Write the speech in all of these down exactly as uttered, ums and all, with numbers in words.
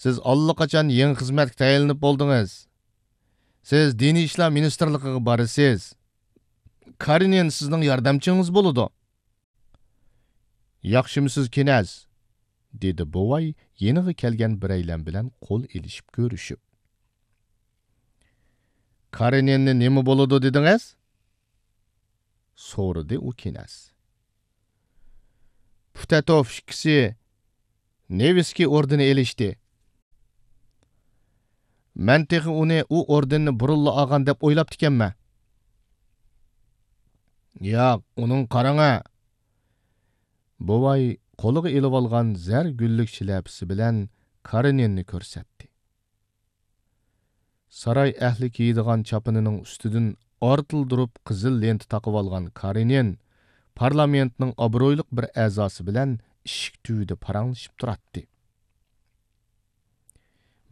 سىز ئاللىقاچان يېڭى خىزمەتكە تەيىنلىنىپ بولدىڭىز. سىز دىنىي ئىشلار مىنىستىرلىقىغا بارىسىز. كارېنىن سىزنىڭ ياردەمچىڭىز بولىدۇ. ياخشىمۇسىز، كىنەز؟ دېدى بوۋاي يېنىغا كەلگەن بىرەيلەن بىلەن قول ئېلىشىپ كۆرۈشۈپ. كارېنىننى نېمە بولىدۇ دېدىڭىز؟ سورىدى ئۇ كىنەز. پۇتەتوف ئىككىسى نېۋىسكىي ئوردېنى ئېلىشتى. مەن تېخى ئۇنى ئۇ ئوردېننى بۇرۇنلا ئالغان دەپ ئويلاپتىكەنمەن. ياق، ئۇنىڭغا قاراڭە! بوۋاي قولىغا ئېلىۋالغان زەر گۈللۈك شىلەپىسى بىلەن كارېنىننى كۆرسەتتى. ساراي ئەھلى كىيىدىغان چاپىنىنىڭ ئۈستىدىن ئارتىلدۇرۇپ قىزىل لېنتا تاقىۋالغان كارېنىن پارلامېنتنىڭ ئابرۇيلۇق بىر ئەزاسى بىلەن ئىشىك تۈۋىدە پاراڭلىشىپ تۇراتتى.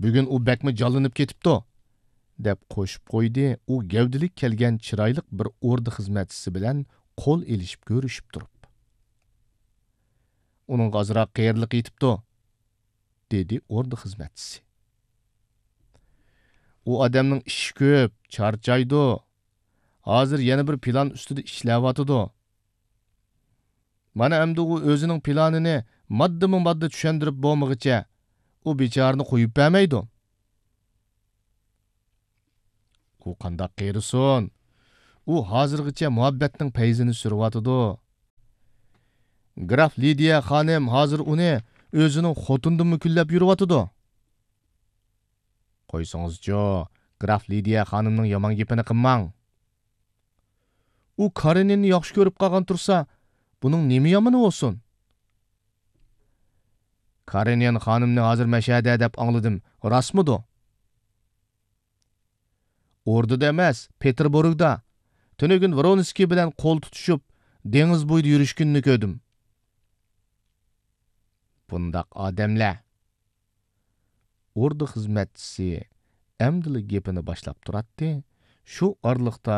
بۈگۈن ئۇ بەكمۇ جانلىنىپ كېتىپتۇ، دەپ قوشۇپ قويدى ئۇ گەۋدىلىك كەلگەن چىرايلىق بىر ئوردا خىزمەتچىسى بىلەن قول ئېلىشىپ كۆرۈشۈپ تۇرۇپ. ئۇنىڭغا ئازراق قېرىلىق يېتىپتۇ، دېدى ئوردا خىزمەتچىسى. ئۇ ئادەمنىڭ ئىشى كۆپ، چارچايدۇ. ھازىر يەنە بىر پىلان ئۈستىدە ئىشلەۋاتىدۇ. مانا ئەمدى ئۇ ئۆزىنىڭ پىلانىنى ماددىمۇ ماددا چۈشەندۈرۈپ بولمىغىچە، ئۇ بىچارىنى قويۇپ بەرمەيدۇ. ئۇ قانداق قېرىسۇن؟ ئۇ ھازىرغىچە مۇھەببەتنىڭ پەيزىنى سۈرۈۋاتىدۇ. گراف لىدىيە خانىم ھازىر ئۇنى ئۆزىنىڭ خوتۇنىدىنمۇ كۈنلەپ يۈرۈۋاتىدۇ. قويسىڭىزچۇ، گراف لىدىيە خانىمنىڭ يامان گېپىنى قىلماڭ. ئۇ كارېنىننى ياخشى كۆرۈپ قالغان تۇرسا، بۇنىڭ نېمە يامىنى بولسۇن؟ كارېنىن خانىمنى ھازىر مەشەدە دەپ ئاڭلىدىم، راستمىدۇ؟ ئوردىدا ئەمەس، پېتېربۇرگدا. تۈنۈگۈن ۋرونسكىي بىلەن قول تۇتۇشۇپ، دېڭىز بويىدا يۈرۈشكىنىنى كۆردۈم. بۇنداق ئادەملەر. ئوردا خىزمەتچىسى ئەمدىلا گېپىنى باشلاپ تۇراتتى، شۇ ئارىلىقتا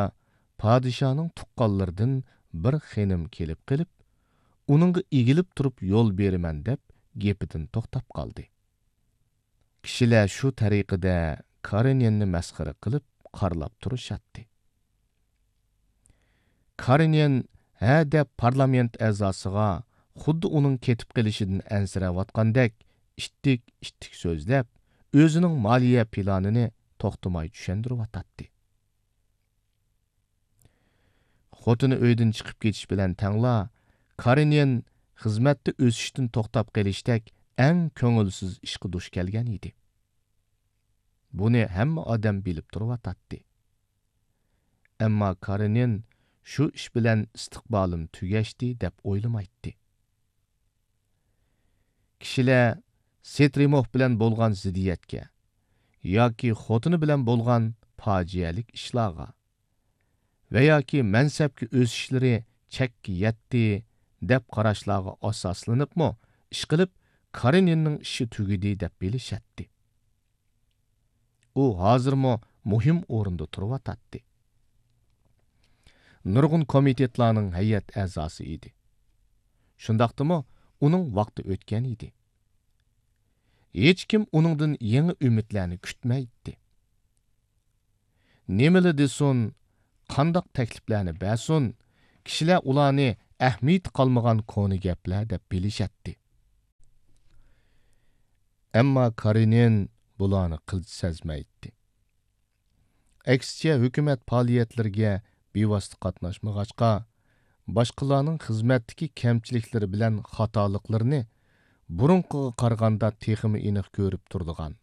پادىشاھنىڭ تۇغقانلىرىدىن بىر خېنىم كېلىپ قېلىپ، ئۇنىڭغا ئېگىلىپ تۇرۇپ يول بېرىمەن دەپ گېپىدىن توختاپ قالدى. كىشىلەر شۇ تەرىقىدە كارېنىننى مەسخىرە قىلىپ قارىلاپ تۇرۇشاتتى. كارېنىن ھە دەپ پارلامېنت ئەزاسىغا خۇددى ئۇنىڭ كېتىپ قېلىشىدىن ئەنسىرەۋاتقاندەك ئىتتىك-ئىتتىك سۆزلەپ، ئۆزىنىڭ مالىيە پىلانىنى توختىماي چۈشەندۈرۈۋاتاتتى. خوتۇنى ئۆيدىن چىقىپ كېتىش بىلەن تەڭلا، كارېنىن خىزمەتتە ئۆسۈشتىن توختاپ قېلىشتەك ئەڭ كۆڭۈلسىز ئىشقا دۇچ كەلگەن ئىدى. بۇنى ھەممە ئادەم بىلىپ تۇرۇۋاتاتتى. ئەمما كارېنىن شۇ ئىش بىلەن ئىستىقبالىم تۈگەشتى دەپ ئويلىمايتتى. كىشىلەر سېترىموف بىلەن بولغان زىددىيەتكە ياكى خوتۇنى بىلەن بولغان پاجىئەلىك ئىشلارغا ۋە ياكى مەنسەپكە ئۆسۈشلىرى چەككە يەتتى دەپ قاراشلارغا ئاساسلىنىپمۇ ئىشقىلىپ كارېنىننىڭ ئىشى تۈگىدى دەپ بىلىشەتتى. ئۇ ھازىرمۇ مۇھىم ئورۇندا تۇرۇۋاتاتتى. نۇرغۇن كومىتېتلارنىڭ ھەيئەت ئەزاسى ئىدى. شۇنداقتىمۇ ئۇنىڭ ۋاقتى ئۆتكەن ئىدى. ھېچكىم ئۇنىڭدىن يېڭى ئۈمىدلەرنى كۈتمەيتتى. نېمىلا دېسۇن، قانداق تەكلىپلەرنى بەرسۇن، كىشىلەر ئۇلارنى ئەھمىيىتى قالمىغان كونا گەپلەر دەپ بىلىشەتتى. ئەمما كارېنىن بۇلارنى قىلچە سەزمەيتتى. ئەكسىچە، ھۆكۈمەت پائالىيەتلىرىگە بىۋاسىتە قاتناشمىغاچقا، باشقىلارنىڭ خىزمەتتىكى كەمچىلىكلىرى بىلەن خاتالىقلىرىنى بۇرۇنقىغا قارىغاندا تېخىمۇ ئېنىق كۆرۈپ تۇرىدىغان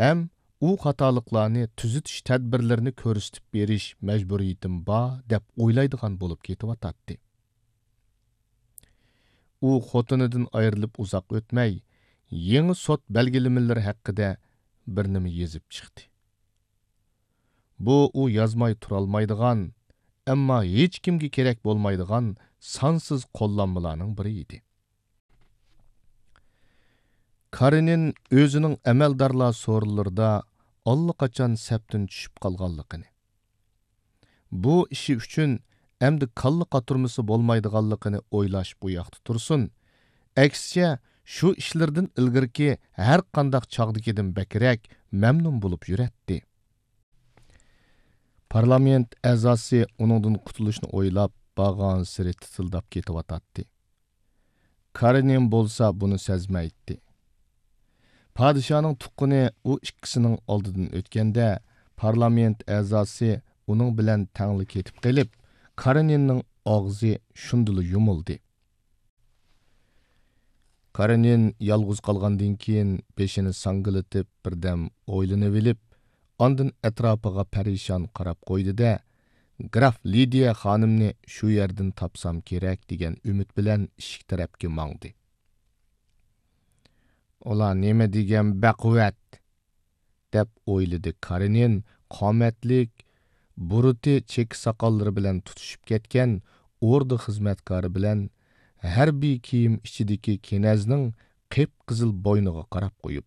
ھەم ئۇ خاتالىقلارنى تۈزىتىش تەدبىرلىرىنى كۆرسىتىپ بېرىش مەجبۇرىيىتىم بار دەپ ئويلايدىغان بولۇپ كېتىۋاتاتتى. ئۇ خوتۇنىدىن ئايرىلىپ ئۇزاق ئۆتمەي، يېڭى سوت بەلگىلىمىلىرى ھەققىدە بىر نېمە يېزىپ چىقتى. بۇ ئۇ يازماي تۇرالمايدىغان، ئەمما ھېچكىمگە كېرەك بولمايدىغان سانسىز قوللانمىلارنىڭ بىرى ئىدى. كارېنىن ئۆزىنىڭ ئەمەلدارلار سورۇنلىرىدا ئاللىقاچان سەپتىن چۈشۈپ قالغانلىقىنى، بۇ ئىشى ئۈچۈن ئەمدى كاللا قاتۇرمىسى بولمايدىغانلىقىنى ئويلاش بۇ ياقتا تۇرسۇن، ئەكسىچە، شۇ ئىشلىرىدىن ئىلگىرىكى ھەر قانداق چاغدىكىدىن بەكرەك مەمنۇن بولۇپ يۈرەتتى. پارلامېنت ئەزاسى ئۇنىڭدىن قۇتۇلۇشنى ئويلاپ، بارغانسېرى تىتىلداپ كېتىۋاتاتتى. كارېنىن بولسا بۇنى سەزمەيتتى. پادىشاھنىڭ تۇغقىنى ئۇ ئىككىسىنىڭ ئالدىدىن ئۆتكەندە، پارلامېنت ئەزاسى ئۇنىڭ بىلەن تەڭلا كېتىپ قېلىپ، كارېنىننىڭ ئاغزى شۇندىلا يۇمۇلدى. كارېنىن يالغۇز قالغاندىن كېيىن بېشىنى ساڭگىلىتىپ بىردەم ئويلىنىۋېلىپ، ئاندىن ئەتراپىغا پەرىشان قاراپ قويدى-دە، گراف لىدىيە خانىمنى شۇ يەردىن تاپسام كېرەك دېگەن ئۈمىد بىلەن ئىشىك تەرەپكە ماڭدى. ئۇلار نېمە دېگەن بەقۇۋۋەت! دەپ ئويلىدى كارېنىن قامەتلىك، بۇرۇتى چېكە ساقاللىرى بىلەن تۇتىشىپ كەتكەن ئوردا خىزمەتكارى بىلەن ھەربىي كىيىم ئىچىدىكى كېنەزنىڭ قىپقىزىل بوينىغا قاراپ قويۇپ.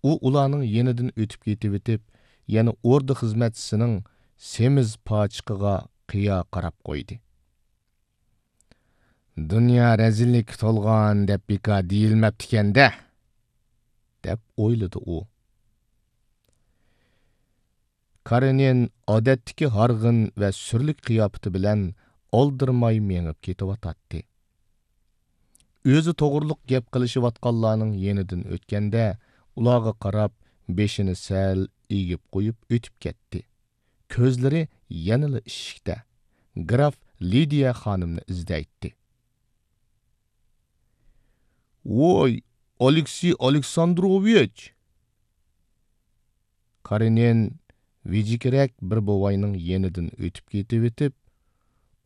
ئۇ ئۇلارنىڭ يېنىدىن ئۆتۈپ كېتىۋېتىپ، يەنە ئوردا خىزمەتچىسىنىڭ سېمىز پاچىقىغا قىيا قاراپ قويدى. دۇنيا رەزىللىككە تولغان دەپ بىكار دېيىلمەپتىكەن-دە، دەپ ئويلىدى ئۇ. كارېنىن ئادەتتىكى ھارغىن ۋە سۈرلۈك قىياپىتى بىلەن ئالدىرىماي مېڭىپ كېتىۋاتاتتى. ئۆزى توغرۇلۇق گەپ قىلىشىۋاتقانلارنىڭ يېنىدىن ئۆتكەندە، ئۇلارغا قاراپ بېشىنى سەل ئېگىپ قويۇپ ئۆتۈپ كەتتى. كۆزلىرى يەنىلا ئىشىكتە، گراف لىدىيە خانىمنى ئىزدەيتتى. ۋوي، ئالېكسېي ئالېكساندروۋىچ! كارېنىن ۋىجىكرەك بىر بوۋاينىڭ يېنىدىن ئۆتۈپ كېتىۋېتىپ،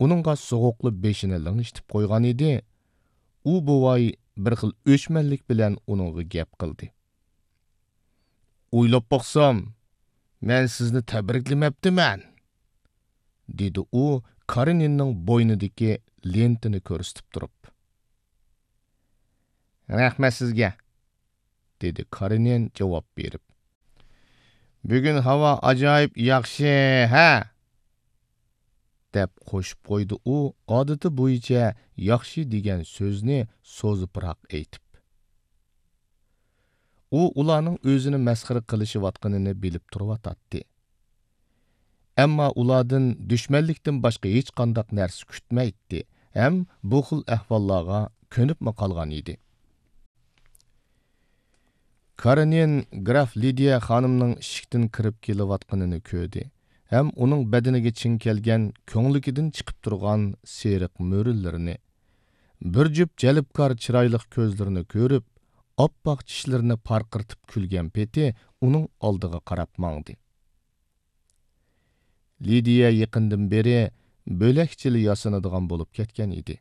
ئۇنىڭغا سوغۇقلا بېشىنى لىڭشىتىپ قويغان ئىدى. ئۇ بوۋاي بىر خىل ئۆچمەنلىك بىلەن ئۇنىڭغا گەپ قىلدى. ئويلاپ باقسام، مەن سىزنى تەبرىكلىمەپتىمەن، دېدى ئۇ كارېنىننىڭ بوينىدىكى لېنتىنى كۆرسىتىپ تۇرۇپ. رەھمەت سىزگە، دېدى كارېنىن جاۋاب بېرىپ. بۈگۈن ھاۋا ئاجايىپ ياخشى، ھە؟ دەپ قوشۇپ قويدى ئۇ، ئادىتى بويىچە ياخشى دېگەن سۆزنى سوزۇپراق ئېيتىپ. ئۇ ئۇلارنىڭ ئۆزىنى مەسخىرە قىلىشىۋاتقىنىنى بىلىپ تۇرۇۋاتاتتى. ئەمما ئۇلاردىن دۈشمەنلىكتىن باشقا ھېچقانداق نەرسە كۈتمەيتتى ھەم بۇ خىل ئەھۋاللارغا كۆنۈپمۇ قالغان ئىدى. كارېنىن گراف لىدىيە خانىمنىڭ ئىشىكتىن كىرىپ كېلىۋاتقىنىنى كۆردى ھەم ئۇنىڭ بەدىنىگە چىڭ كەلگەن كۆڭلىكىدىن چىقىپ تۇرغان سېرىق مۆرىلىرىنى، بىر جۈپ جەلپكار چىرايلىق كۆزلىرىنى كۆرۈپ، ئاپئاق چىشلىرىنى پارقىرىتىپ كۈلگەن پېتى ئۇنىڭ ئالدىغا قاراپ ماڭدى. لىدىيە يېقىندىن بېرى بۆلەكچىلا ياسىنىدىغان بولۇپ كەتكەن ئىدى.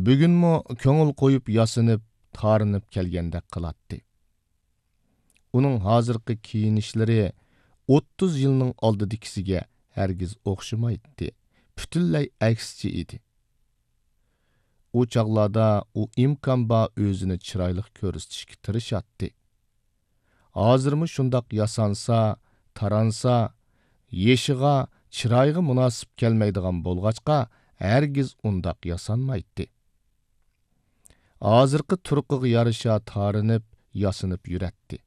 بۈگۈنمۇ كۆڭۈل قويۇپ ياسىنىپ، تارىنىپ كەلگەندەك قىلاتتى. ئۇنىڭ ھازىرقى كىيىنىشلىرى ئوتتۇز يىلنىڭ ئالدىدىكىسىگە ھەرگىز ئوخشىمايتتى، پۈتۈنلەي ئەكسىچە ئىدى. ئۇ چاغلاردا ئۇ ئىمكان بار ئۆزىنى چىرايلىق كۆرسىتىشكە تىرىشاتتى. ھازىرمۇ شۇنداق ياسانسا، تارانسا، يېشىغا، چىرايىغا مۇناسىپ كەلمەيدىغان بولغاچقا، ھەرگىز ئۇنداق ياسانمايتتى. ھازىرقى تۇرقىغا يارىشا تارىنىپ، ياسىنىپ يۈرەتتى.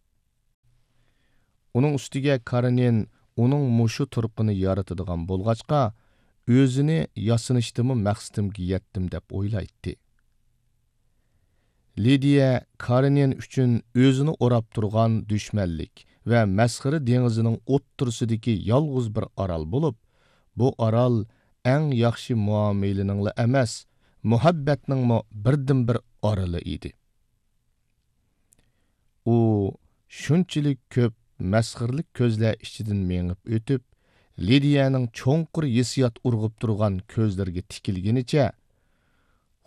ئۇنىڭ ئۈستىگە كارېنىن ئۇنىڭ مۇشۇ تۇرقىنى يارىتىدىغان بولغاچقا، ئۆزىنى ياسىنىشتىمۇ مەقسىتىمگە يەتتىم دەپ ئويلايتتى. لىدىيە كارېنىن ئۈچۈن ئۆزىنى ئوراپ تۇرغان دۈشمەنلىك ۋە مەسخىرە دېڭىزىنىڭ ئوتتۇرىسىدىكى يالغۇز بىر ئارال بولۇپ، بۇ ئارال ئەڭ ياخشى مۇئامىلىنىڭلا ئەمەس، مۇھەببەتنىڭمۇ بىردىنبىر ئارىلى ئىدى. ئۇ شۇنچىلىك كۆپ مەسخىرىلىك كۆزلەر ئىچىدىن مېڭىپ ئۆتۈپ، لىدىيەنىڭ چوڭقۇر ھېسسىيات ئۇرغۇپ تۇرغان كۆزلىرىگە تىكىلگىنىچە،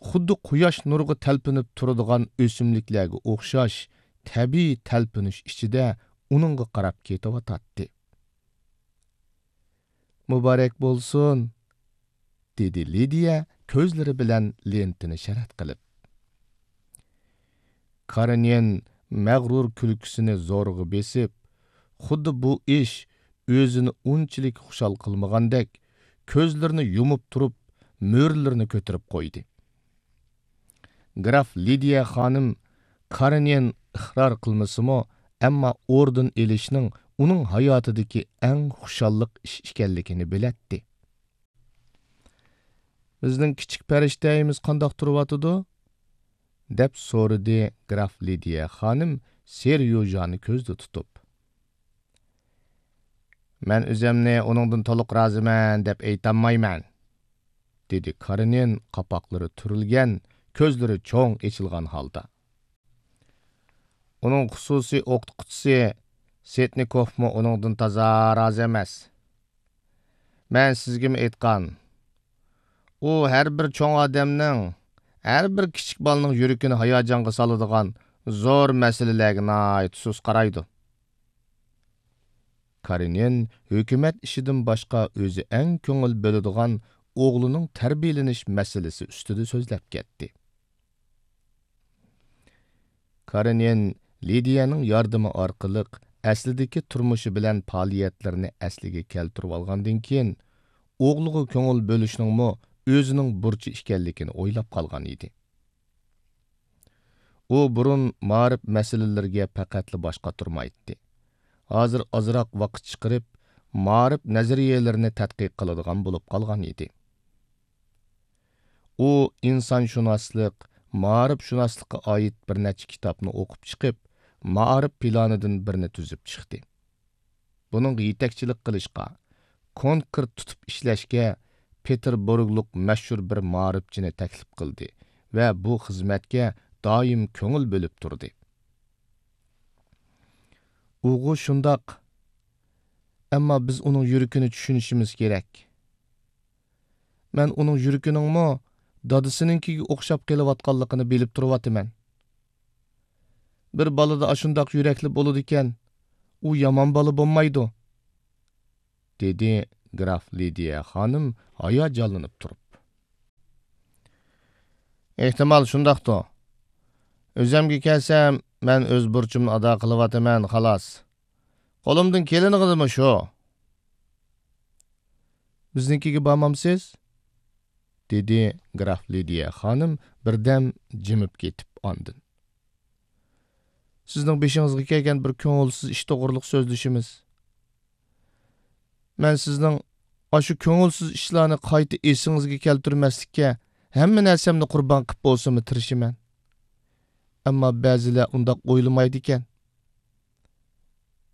خۇددى قۇياش نۇرىغا تەلپۈنۈپ تۇرىدىغان ئۆسۈملۈكلەرگە ئوخشاش تەبىئىي تەلپۈنۈش ئىچىدە ئۇنىڭغا قاراپ كېتىۋاتاتتى. مۇبارەك بولسۇن! دېدى لىدىيە كۆزلىرى بىلەن لېنتىنى شەرەت قىلىپ. كارېنىن مەغرۇر كۈلكىسىنى زورىغا بېسىپ، خۇددى بۇ ئىش ئۆزىنى ئۇنچىلىك خۇشال قىلمىغاندەك، كۆزلىرىنى يۇمۇپ تۇرۇپ، مۈرىلىرىنى كۆتۈرۈپ قويدى. گراف لىدىيە خانىم كارېنىن ئىقرار قىلمىسىمۇ، ئەمما ئوردېن ئېلىشنىڭ ئۇنىڭ ھاياتىدىكى ئەڭ خۇشاللىق ئىش ئىكەنلىكىنى بىلەتتى. «بىزنىڭ كىچىك پەرىشتەيىمىز قانداق تۇرۇۋاتىدۇ؟» دەپ سورىدى گراف لىدىيە خانىم سېريوژانى كۆزدە تۇتۇپ. «مەن ئۆزۈمنى ئۇنىڭدىن تولۇق رازىمەن دەپ ئېيتالمايمەن»، دېدى كارېنىن قاپاقلىرى تۈرۈلگەن، كۆزلىرى چوڭ ئېچىلغان ھالدا. «ئۇنىڭ خۇسۇسىي ئوقۇتقۇچىسى سېتنىكوفمۇ ئۇنىڭدىن تازا رازى ئەمەس. مەن سىزگىمۇ ئېيتقان. ئۇ ھەر بىر چوڭ ئادەمنىڭ، ھەر بىر كىچىك بالىنىڭ يۈرىكىنى ھاياجانغا سالىدىغان زور مەسىلىلەرگە ناھايىتى سۇس قارايدۇ.» كارېنىن ھۆكۈمەت ئىشىدىن باشقا ئۆزى ئەڭ كۆڭۈل بۆلىدىغان ئوغلىنىڭ تەربىيەلىنىش مەسىلىسى ئۈستىدە سۆزلەپ كەتتى. كارېنىن لىدىيەنىڭ ياردىمى ئارقىلىق ئەسلىدىكى تۇرمۇشى بىلەن پائالىيەتلىرىنى ئەسلىگە كەلتۈرۈۋالغاندىن كېيىن، ئوغلىغا كۆڭۈل بۆلۈشنىڭمۇ ئۆزىنىڭ بۇرچى ئىكەنلىكىنى ئويلاپ قالغان ئىدى. ئۇ بۇرۇن مائارىپ مەسىلىلىرىگە پەقەتلا باش قاتۇرمايتتى. ھازىر ئازراق ۋاقىت چىقىرىپ، مائارىپ نەزەرىيەلىرىنى تەتقىق قىلىدىغان بولۇپ قالغان ئىدى. ئۇ ئىنسانشۇناسلىق، مائارىپشۇناسلىققا ئائىت بىر نەچچە كىتابنى ئوقۇپ چىقىپ، مائارىپ پىلانىدىن بىرنى تۈزۈپ چىقتى. بۇنىڭغا يېتەكچىلىك قىلىشقا، كونكرېت تۇتۇپ ئىشلەشكە پېتېربۇرگلۇق مەشھۇر بىر مائارىپچىنى تەكلىپ قىلدى ۋە بۇ خىزمەتكە دائىم كۆڭۈل بۆلۈپ تۇردى. ئۇغۇ شۇنداق. ئەمما بىز ئۇنىڭ يۈرىكىنى چۈشىنىشىمىز كېرەك. مەن ئۇنىڭ يۈرىكىنىڭمۇ دادىسىنىڭكىگە ئوخشاپ قېلىۋاتقانلىقىنى بىلىپ تۇرۇۋاتىمەن. بىر بالىدا ئاشۇنداق يۈرەكلىك بولىدىكەن، ئۇ يامان بالا بولمايدۇ، دېدى گراف لىدىيە خانىم ھاياجانلىنىپ تۇرۇپ. ئېھتىمال شۇنداقتۇ. ئۆزۈمگە كەلسەم، مەن ئۆز بۇرچۇمنى ئادا قىلىۋاتىمەن، خالاس. قولۇمدىن كېلىنىغىنىمۇ شۇ. بىزنىڭكىگە بارمامسىز؟ دېدى گراف لىدىيە خانىم بىردەم جىمىپ كېتىپ ئاندىن. سىزنىڭ بېشىڭىزغا كەلگەن بىر كۆڭۈلسىز ئىش توغرۇلۇق سۆزلىشىمىز. مەن سىزنىڭ ئاشۇ كۆڭۈلسىز ئىشلارنى قايتا ئېسىڭىزگە كەلتۈرمەسلىككە ھەممە نەرسەمنى قۇربان قىلىپ بولسىمۇ تىرىشىمەن. ئەمما بەزىلەر ئۇنداق ئويلىمايدىكەن.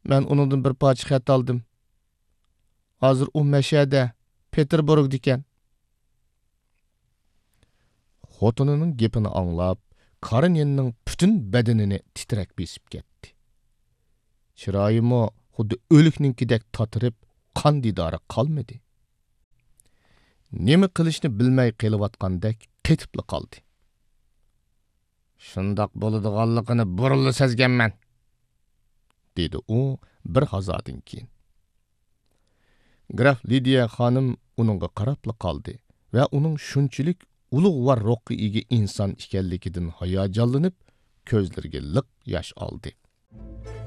مەن ئۇنىڭدىن بىر پارچە خەت ئالدىم. ھازىر ئۇ مەشەدە، پېتېربۇرگدىكەن. خوتۇنىنىڭ گېپىنى ئاڭلاپ، كارېنىننىڭ پۈتۈن بەدىنىنى تىترەك بېسىپ كەتتى. چىرايىمۇ خۇددى ئۆلۈكنىڭكىدەك تاتىرىپ، قان دىدارى قالمىدى. نېمە قىلىشنى بىلمەي قېلىۋاتقاندەك قېتىپلا قالدى. شۇنداق بولىدىغانلىقىنى بۇرۇنلا سەزگەنمەن، دېدى ئۇ بىر ھازادىن كېيىن. گراف لىدىيە خانىم ئۇنىڭغا قاراپلا قالدى ۋە ئۇنىڭ شۇنچىلىك ئۇلۇغۋار روھقا ئىگە ئىنسان ئىكەنلىكىدىن ھاياجانلىنىپ، كۆزلىرىگە لىق ياش ئالدى.